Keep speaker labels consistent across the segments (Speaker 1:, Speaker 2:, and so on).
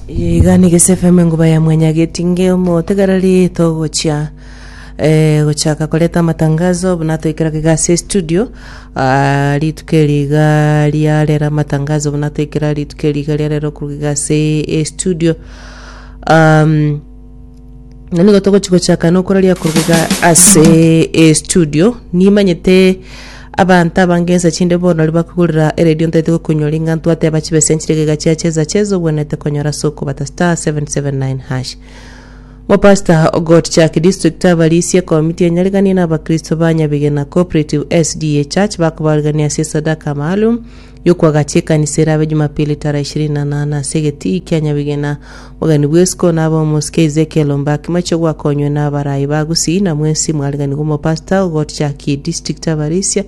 Speaker 1: Iga ni Gese FM enguba ya mwanyagetinge omotegereri togochia eh, gochaka koreta amatangazo buna toikera iga ase studio ah, rituko eri iga ria rero amatangazo buna toikera rituko eri iga ria rero korwa iga ase estudio um, Na nigo togochi gochaka nokoraria korwa iga ase estudio nimanyete abanto abange ensa chinde bono nari bakogorera eredio ntaete gokonyora ing'a ntwateba chibesa nchire iga chia cheza cheza obwenerete konyora ase okobata star 779 hash. Mopastor Ogot Chaki District abarisia ekomiti enyariganie na abakristo ba Nyabigena Cooperative SDA Church bakobarigania ase esadaka maalum y'okoagacha ekanisa erabe Jumapili tarehe ishirini na nane ase egetii kia Nyabigena. Omogeni bw'esiko nabe omosike Ezekiel Ombaki Mache gwakonywe na abarai ba Gusii na mwensi mwariganigwe omopastor ogocha ki district abarisia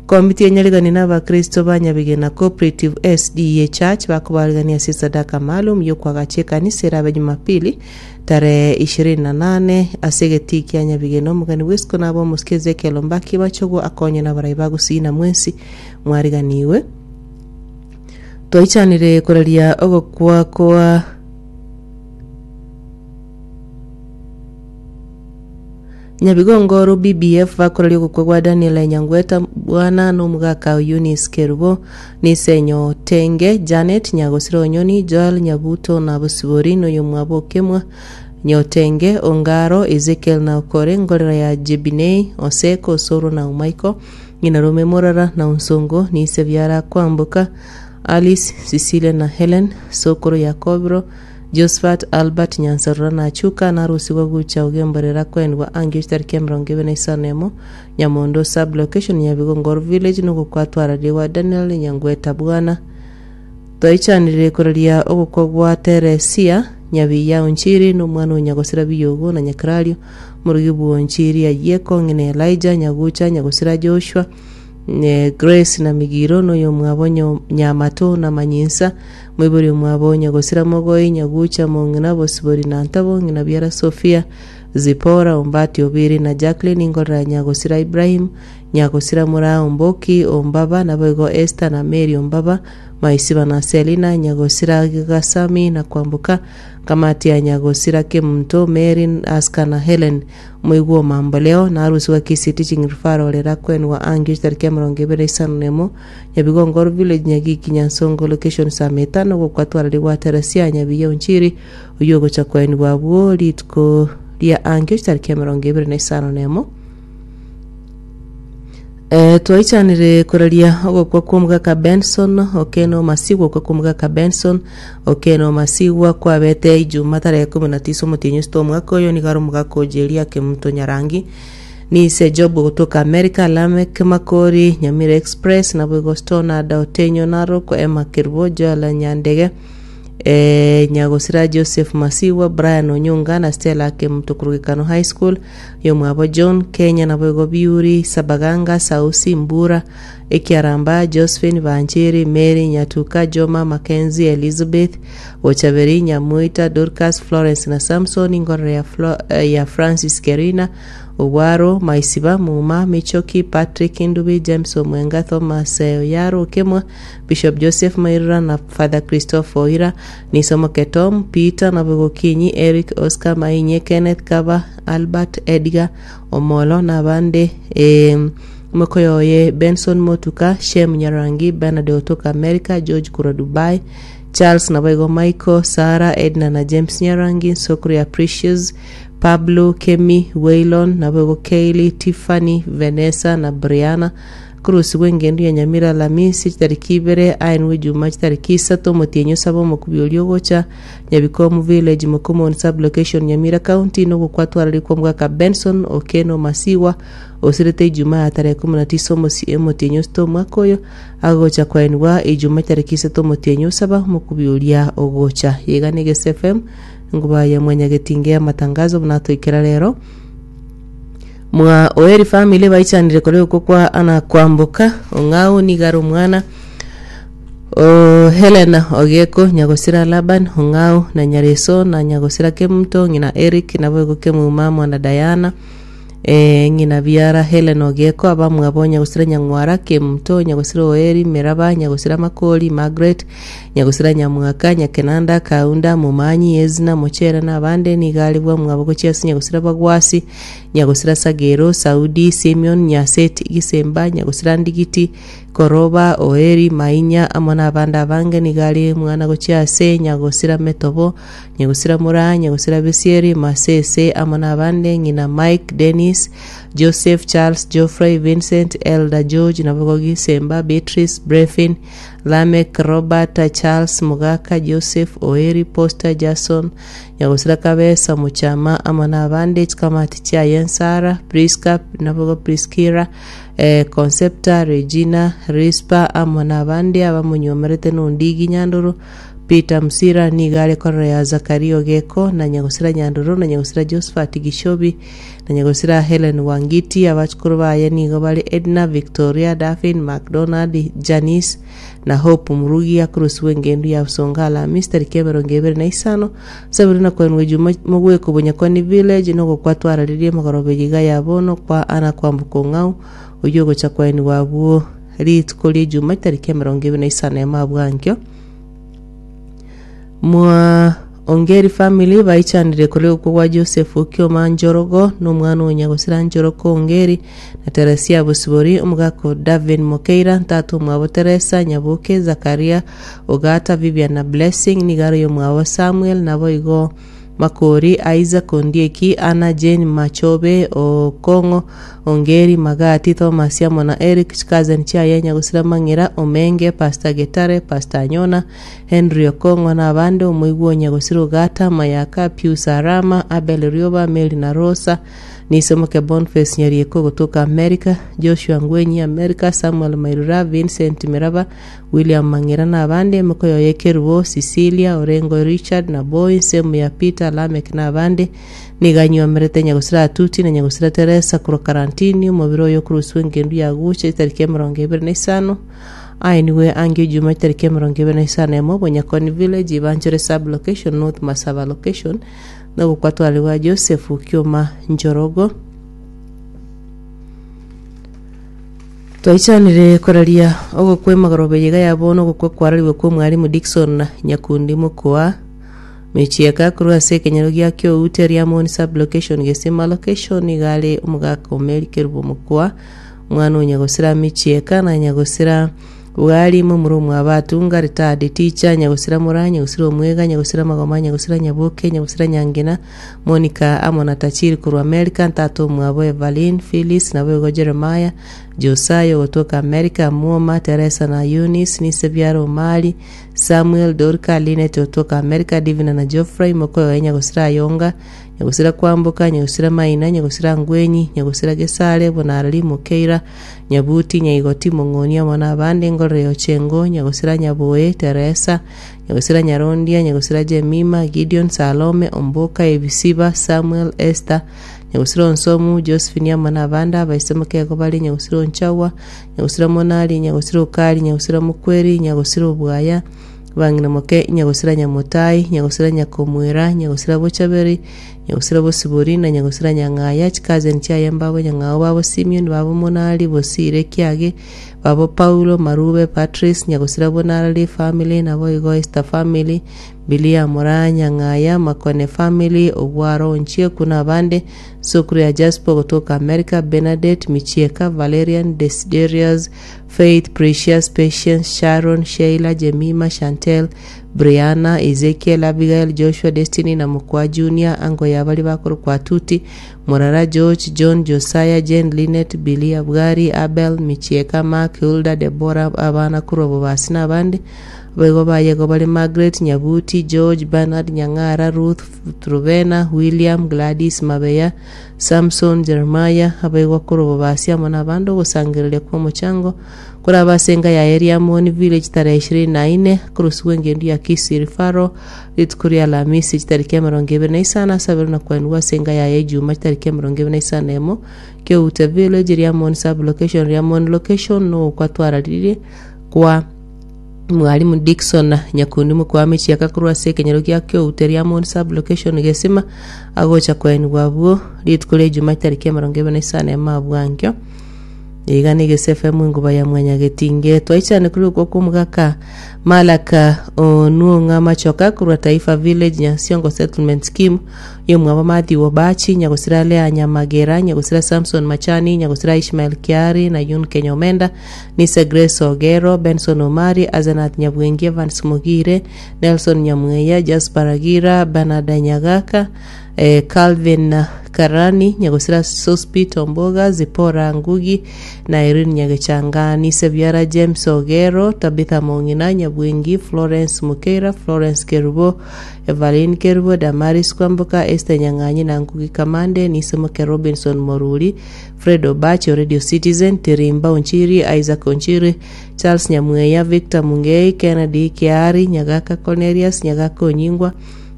Speaker 1: Komiti enyarigani na abakristo ba Nyabigena Cooperative SDA Church bakobarigania ase esadaka maalum y'okoagacha ekanisa erabe Jumapili tarehe ishirini na nane ase egetii kia Nyabigena. Omogeni bw'esiko nabe omosike Ezekiel Ombaki Machogo akonywe na abarai ba Gusii na mwensi mwariganiwe. Twaichanire koraria ogokwa kwa Nyabigongo BBF bakoraria ogokwa gwa Daniel Nyangweta bwana na omogaka o Eunice Kerubo, Nisenyo Tenge, Janet Nyagosira Onyoni, Joel Nyabuto na Bosibori na oyomwabo Okemwa Nyotenge, Ongaro, Ezekiel na Okore, Ngorera ya Jebinei, Oseko, Osoro na Omaiko. Ng'ina rome morara na onsongo, nise biara kwamboka, Alice, Cecilia na Helen, sokoro Yakobiro, Josphat, Albert, Nyansarora na Achuka, narusigwa gocha ogemborera kwenigwa angio chitariki emerongo ebere na isano emo, Nyamondo sub location, Nyabigongo village, nogokwa twararigwa Daniel Nyangweta bwana. Twaichanire koraria ogokwa gwa Teresia, Nyabiya Onchiri, na omwana o Nyagosira Biyogo na Nyakrario, Omorogi bw'Onchiri Ayieko, ng'ina Elijah, Nyagucha, Nyagosira Joshua, Grace na Migiro, na oyomwabo Nyamato na Manyinsa, moibori omwabo Nyagosira Mogoi, Nyagucha, Mong'ina, Bosibori na Ntabo, ng'ina biara Sophia, Zipora, Ombati, Obiri na Jacqueline, Ingorera Nyagosira Ibrahim, Nyagosira Moraa Omboki, Ombaba, naboigo Esther na Mary Ombaba, Maisiba na Selina, Nyagosira Gasami na Kwamboka, Kamati ya Nyagosira Kemunto, Mary, Aska na Helen, Omoigwa o Mamboleo, na arusigwe Kisii Teaching Referral era kwenwa angio chitariki emerongo ebere na isano na emo, Nyabigongoro Village, Nyagiki, Nyansongo Location saa metano gokwa twararigwa Teresia Nyabiya Onchiri, oyio ogocha koenigwa abwo rituko ria angio chitariki emerongo ebere na isano na emo. Eh, twaichanire koraria ogokwa kw'omogaka Benson Okeno Masigwa okwa kw'omogaka Benson Okeno Masigwa kwabete Ijuma tarehe kumi na tisa omotienyi osito omwaka oyo nigo are omogaka o Jeria Kemunto Nyarangi Nise Job gotoka America Lamek Makori Nyamira Express naboigo Stonard Otenyo Narok Emma Kerubo Joel Nyandege eh, Nyagosira Joseph Masigwa Brian Onyunga na Stella Kemunto Kurugekano High School Yomwabo John, Kenya naboigo Biuri, Sabaganga, Sausi, Mbura, Ekiaramba, Josephine, Banchiri, Mary, Nyatuka, Joma, Mackenzie, Elizabeth, Bochaberi, Nyamoita, Dorcas, Florence na Samson, Ingorore ya, Flo, eh, ya Francis Kerina, Ogwaro, Maisiba, Muma, Michoki, Patrick Ndubi, James Omwenga, Thomas eh, Oyaro Okemwa, Bishop Joseph Mairura na Father Christopher Oira, Nisomoke Tom, Peter naboigo Kinyi, Eric, Oscar, Mainye, Kenneth, Kaba, Albert, Edgar, Omolo na abande eh, omokoyo oye Benson Motuka, Shem Nyarangi, Bernard otoka America, George korwa Dubai, Charles naboigo Michael, Sarah, Edna na James Nyarangi, Nsokuru ya Precious, Pablo, Kemi, Waylon, naboigo Kaylee, Tiffany, Vanessa na Brianna, Korusigwa engendu ya Nyamira Alamisi chitariki ibere, aenwe Ijuma chitariki isato, omotienyi osaba omokubi oria ogocha, Nyabikomu Village, Mokomoni Sub-location, Nyamira County, nogokwa twararikwa omogaka Benson Okeno Masigwa, osirete Ijuma ya tarehe ikomi na tisa omosie omotienyi osito omwaka oyo, agocha koenigwa Ijuma chitariki isato omotienyi osaba omokubi oria ogocha. Yega ne Gese FM, enguba ya mwanyagetinge y'amatangazo buna toikera rero. Mwa Oeri family baichanire kore okwo kwa Anna Kwamboka Ong'au nigo are omwana o Helena Ogeko Nyagosira Laban Ong'au na Nyareso na Nyagosira Kemunto ng'ina Eric naboigo Kemuma mwana Diana. Ng'ina biara Helen Ogeko, abamwabo Nyagosira Nyang'wara, Kemunto, Nyagosira Oeri, Meraba, Nyagosira Makori, Margaret, Nyagosira Nyamwaka, Nyakenanda, Kaunda, Momanyi, Ezna, Mochere na abande nigo are bwamwabo gochia ase Nyagosira Bagwasi, Nyagosira Sagero, Saudi, Simeon, Nyaseti, Gisemba, Nyagosira Ndigiti, Koroba, Oeri, Mainya, amo nabande abange nigo are mwana gochia ase Nyagosira Metobo, Nyagosira Moraa, Nyagosira Besieri, Masese, amo nabande, ng'ina Mike, Dennis, Joseph, Charles, Geoffrey, Vincent, Elder George, naboigo Gisemba, Beatrice, Brefin, Lameck, Robert, Charles, Mogaka, Joseph, Oeri, Poster, Jason, Nyagosira Kabesa, Mochama, amo nabande, chikamati chiaye Nsara, Prisca, naboigo Priskira, eh, Concepta, Regina, Rispa, amo nabande abamonyuomerete nondigi Nyandoro, Peter Msira nigo are korora ya Zakaria Ogeko, na nyagosira Nyandoro, na nyagosira Josephat Gishobi, na nyagosira Helen Wangiti. Abachukuru baye nigo bare Edna, Victoria, Daphne, MacDonald, Janice, na Hope Murugi. Akorusigwa engendu ya Busonga Alhamisi tariki 25 Sabiri na koenwa Ejuma mogweko Bonyakoni Village nogokwa twararirie magoroba eye iga ya bono kwa Anna Kwamboka Ong'au oyio ogocha koenigwa abwo rituko ria Ejuma tariki 25 abwo ankio. Mwa Ongeri family baichanire korwa ogokwa gwa Joseph Okioma Njorogo na omwana o Nyagosira Njoroko Ongeri na Teresia Bosibori, omogaka o Davin Mokeira, ntata omwabo Teresa, Nyaboke, Zakaria, Ogata, Vivian na Blessing, nigo are oyomwabo Samuel, naboigo Makori, Isaac, Ondieki, Anna, Jane, Machobe, Okong'o, Ongeri, Magati, Thomas amo na Eric, chikazeni chiaye Nyagosira Mang'ira, Omenge, Pastor Getare, Pastor Anyona, Henry Okong'o na abande, omoigwa o Nyagosira Ogata, Mayaka, Pius Arama, Abel Rioba, Mary na Rosa, Nisomoke Boniface Nyarieko gotoka America, Joshua Ngwenyi America, Samuel Mairura, Vincent Miraba, William Mang'ira na abande, emeko yoye Kerubo, Cecilia, Orengo Richard, na Boy, ensemo ya Peter, Lameck na abande, nigo anyuomerete Nyagosira Atuti na Nyagosira Teresa korwa Karantini, omobere oye okoroswa engendu ya Gucha chitariki 25, aenigwe ange Ejuma chitariki 21 Bonyakoni Village, Ibanchere Sub-location, North Masaba Location, na ogokwatware gwa Joseph Kioma Njorogo. Twaichanire koraria ogokwa emagoroba eye iga ya bono ogokwa kwararigwe kwa omwalimu Dickson Nyakundi Mokoa Michieka korwa ase ekenyoro gia Kioute Riamoni sub-location Gesima location iga are omogaka o Mary Kerubo Mokoa omwana o Nyagosira Michieka na Nyagosira Bwari momura omwabo Atunga retired teacher Nyagosira Moraa Nyagosira Omwega Nyagosira Magoma Nyagosira Nyaboke Nyagosira Nyangena Monica amo na Tachiri korwa America, ntata omwabo Evaline, Phyllis, naboigo Jeremiah, Josiah ogotoka America, Mwoma, Teresa na Eunice, nise biara Omari, Samuel, Dorca, Linet otoka America, Divina na Geoffrey, mokoyoe Nyagosira Ayonga, Nyagosira Kwamboka, Nyagosira Maina, Nyagosira Ngwenyi, Nyagosira Gesare, Bonarari, Mokeira, Nyabuti, Nyaigoti, Mong'oni amo nabande, Ngorere Ochengo, Nyagosira Nyaboe, Teresa, Nyagosira Nyarondia, Nyagosira Jemima, Gideon, Salome, Omboka, Ebisiba, Samuel, Esther, Nyagosira Onsomu, Josephine amo nabande abaise mokego bare Nyagosira Onchagwa, Nyagosira Monari, Nyagosira Okari, Nyagosira Mokweri, Nyagosira Obwaya, Bang'ina moke, Nyagosira Nyamotai, Nyagosira Nyakomwera, Nyagosira Bochaberi, Nyagosira Bosibori, na Nyagosira Nyang'aya, chikazeni chiaye mbabo Nyang'ao babo Simeon, babo Monari, Bosire, Kiage, Babo Paulo, Marube, Patrice, Nyagosira Bonarari family, naboigo Esther family, Bilia Moraa, Nyang'aya, Makone family, Ogwaro Onchieku na abande, Sukuru ya Jasper gotoka America, Bernadette, Michieka, Valerian, Desiderius, Faith, Precious, Patience, Sharon, Sheila, Jemima, Chantel, Brianna, Ezekiel, Abigail, Joshua, Destiny na Mokwa Junior, ango ya baria bakorokwa Atuti, Morara, George, John, Josiah, Jane, Linet, Billy, Abgari, Abel, Michieka, Mark, Hulda, Deborah, abana korwa Bobasi na abande. Boigo baye igo bare Margaret, Nyabuti, George, Bernard, Nyang'ara, Ruth, Truvena, William, Gladys, Mabeya, Samson, Jeremiah, abaigwa korwa Bobasi amo nabande ogosangereria kw'omochango Koraba ase enka yaye Riamoni Village tarehe 24, korosigwa engendu ya Kisii Referral, rituko ria Alhamisi chitariki 25 asabere na koenigwa ase enka yaye Ejuma chitariki 21 Keute Village, Riamoni Sub-location, Riamoni Location, nogokwa twararirie kwa. Mwalimu Dickson Nyakundi Mokwame chiaka korwa ase ekenyoro gia Kioute Riamoni sub-location Gesima agocha koenigwa abwo rituko ria Ijumaa chitariki 25 emabwankio. Iga na Egese FM enguba ya Mwanyagetinge. Twaichane korwa okwo kw'omogaka Malaka Onuong'a Machoka korwa Taifa Village Nyansiongo Settlement Scheme yomwabo Mathew Obachi, Nyagosira Lea Nyamagera, Nyagosira Samson Machani, Nyagosira Ishmael Kiari na Yun Kenya Omenda, Nise Grace Ogero, Benson Omari, Asenath Nyabwengi, Evans Mogire, Nelson Nyamweya, Jasper Agira, Bernard Nyagaka, eh, Calvin Karani, Nyagosira Sospeter Omboga, Zipporah Ngugi na Irene Nyagechanga, Nise Biara James Ogero, Tabitha Mong'ina, Nyabwengi, Florence Mukeira, Florence Kerubo, Evaline Kerubo, Damaris Kwamboka, Esther Nyang'anyi na Ngugi Kamande, Nise Moke Robinson Moruri, Fred Obachi o Radio Citizen, Tirimba Onchiri, Isaac Onchiri, Charles Nyamweya, Victor Mungei, Kennedy Kiari, Nyagaka Cornelius, Nyagaka Onyingwa,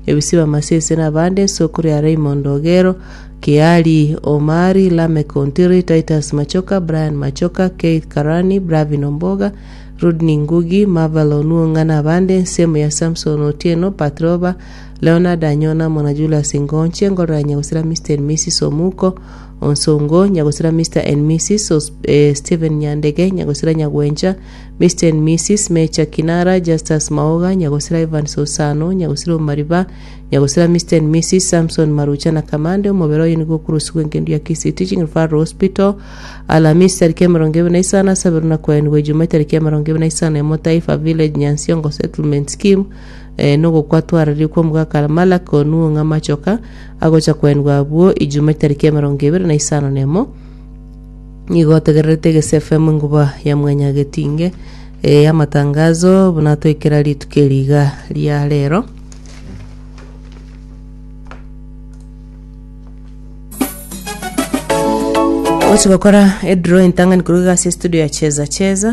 Speaker 1: Ebisiba Masese na abande, Sokoro ya Raymond Ogero, Kiari Omari, Lameck Ontiri, Titus Machoka, Brian Machoka, Keith Karani, Bravin Omboga, Rodney Ngugi, Marvel Onuonga na abande, ensemo ya Samson Otieno, Patroba, Leonard Anyona amo na Julius Ngonche, Ngorora ya Nyagusira Mr and Mrs Omuko, Onsongo, Nyagusira Mr and Mrs Os, eh, Stephen Nyandege, Nyagusira Nyagwencha, Mr and Mrs Mecha Kinara, Justus Maoga, Nyagusira Evans Osano, Nyagusira Omariba, Nyagusira Mr and Mrs Samson Marucha na Kamande, omobere oye nigo okorusigwa engendu ya Kisii Teaching Referral Hospital, Alamisi tariki 25, asaberwe na koenigwa Ijumaa tariki 25 Taifa Village, Nyansiongo Settlement Scheme, eh, nogokwa twararie kw'omogaka Malaki onuo ng'a amachoka agocha koenigwa abwo Ijumaa chitariki 25 nigo otegererete Egese FM enguba ya Mwanyagetinge eh, amatangazo buna toikera rituko eri iga ria rero. Gochi gokora edraw entang'ani korwa iga ase estudio ya Cheza Cheza.